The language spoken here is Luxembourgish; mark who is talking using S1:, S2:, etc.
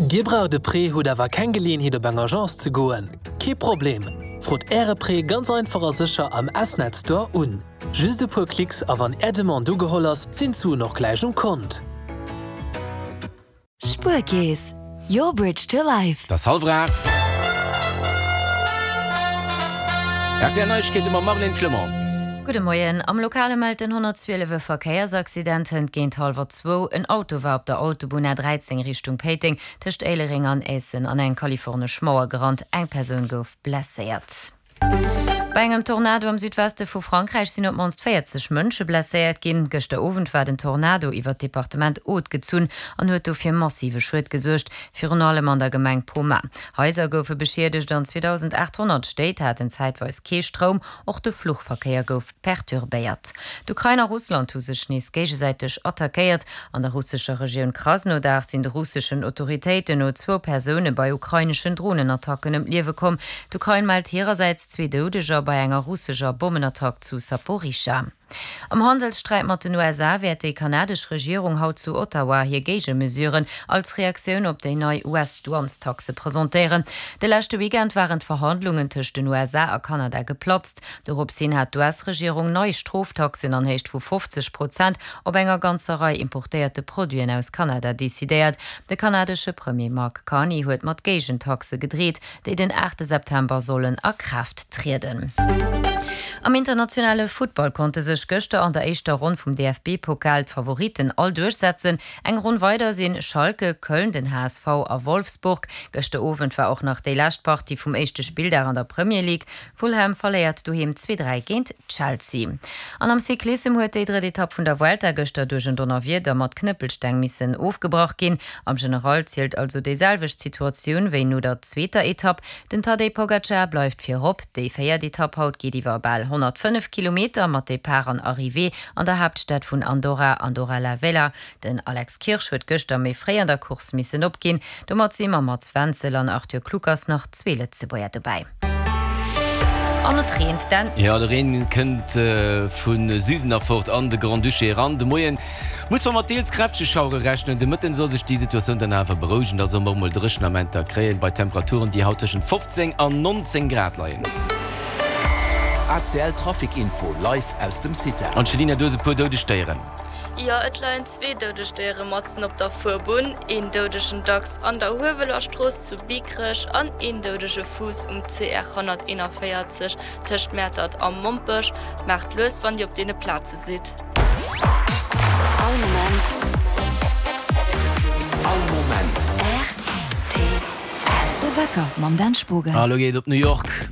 S1: Dir braucht e Prêt, hutt awer keng Geleeënheet op eng Agence ze goen? Kee Problem! Frot Äre Prêt ganz einfach a sécher am S-Net Store un. Just e puer Klicks a wann Är Demande ugeholl ass, sinn d'Suen och gläich um Kont.
S2: Spuerkeess, your bridge to life.
S3: Et ass hallwer 8. Rtl Neiegkeete mam Marlène Clement.
S4: Gudde Moien. Am Lokale mellt den 112 e Verkéiersaccident hënt géint hallwer zwou. En Auto war op der Autobunn A13 Richtung Péiteng tëscht Éilereng an Aessen an eng kalifornesch Mauer gerannt. Eng Persoun gouf blesséiert. Bei engem Tornado am Südweste vu Frankräich sinn op d'mannst 40 Mënsche blesséiert ginn. Gëschter Owend war den Tornado iwwer d'Departement Aude gezunn an huet do fir massive Schued gesuergt, virun allem an der Gemeng Pomat. Haiser goufe beschiedegt an 2.800 Stéit haten zäitweis kee Stroum. Och de Fluchverkéier gouf perturbéiert. D'Ukrain a Russland hu sech nees géigesäiteg attackéiert. An der russescher Regioun Krasnodar sinn de russeschen Autoritéiten no zwou Persoune bei ukraineschen Dronenattacken ëm d'Liewe komm. D'Ukrain mellt hirersäits zwee Doudeger bei enger russescher Bommenattack zu Saporischschja. Am Handelssträit mat den USA wäert déi kanadesch Regierung haut zu Ottawa hir Géigemesuren als Reaktioun op déi nei US-Douanestaxe presentéieren. De leschte Weekend waren d'Verhandlungen tëscht den USA a Kanada geplatzt. Dorops hin hat d'US-Regierung nei Stroftaxen an Héicht vu 50 Prozent op enger ganzer Rei importéierte Produiten aus Kanada decidéiert. De kanadesche Premier Mark Carney huet mat Géigentaxe gedreet, déi den 8 September sollen a Kraaft trieden. Am internationale Futtball konnte sech gëschter an der éischter Ronn vum DFB-Pokal d'Favoritten all duerchsetzen. Eng Ronn weider sinn Schalke, Köln, den HSV a Wolfsburg. Gëschter Owend war och nach déi lescht Partie vum éischte Spilldag an der Premier League. Fulham verléiert doheem 2, 3 géint Chelsea. An am Cyclissem huet déi drëtt Etapp vun der Vuelta gëschter duerch en Donnerwieder mat Knëppelsteng missen ofgebrach ginn. Am General zielt also déi selwecht Situatioun wéi no der zweeter Etapp. Den Tadej Pogacar bleift virop. Déi véiert Etapp haut geet iwwer bal 105 Kilometer mat Depart an Arrivée an der Haaptstad vun Andorra, Andorra la Vella. Den Alex Kirsch huet gëschter méi fréi an der Course missen opginn. Domat si mam Mats Wenzel an Arthur Kluckers nach zwee Lëtzebuerger dobäi. An et reent den.
S3: Jo, de Reen kënnt vu Süden erfort an de Grand-Duché eran. De Moien muss mer mat deels kräftege Schauere rechnen. De Mëtten soll sech déi Situatioun dann awer berouegen, da solle mer och mol dréchen Amenter kréien, bei Temperaturen, déi haut tëschent 15 an 19 Grad leien.
S5: ACL Trafic Info live aus dem CITAR.
S3: Angelina, du hues e puer doudeg Déieren.
S6: Jo, et leien zwee doudeg Déiere matzen op der Fuerbunn, een doudegen Dachs an der Huewelerstrooss zu Biekerech an een doudege Fuuss um CR 141 tëscht Mäertert a Mompech. Maacht lues wann Dir op deene Plaze sidd.
S2: All Moment.
S5: All Moment.
S2: Rtl. De Wecker mam Dan Spogen.
S3: A lo geet et op New York.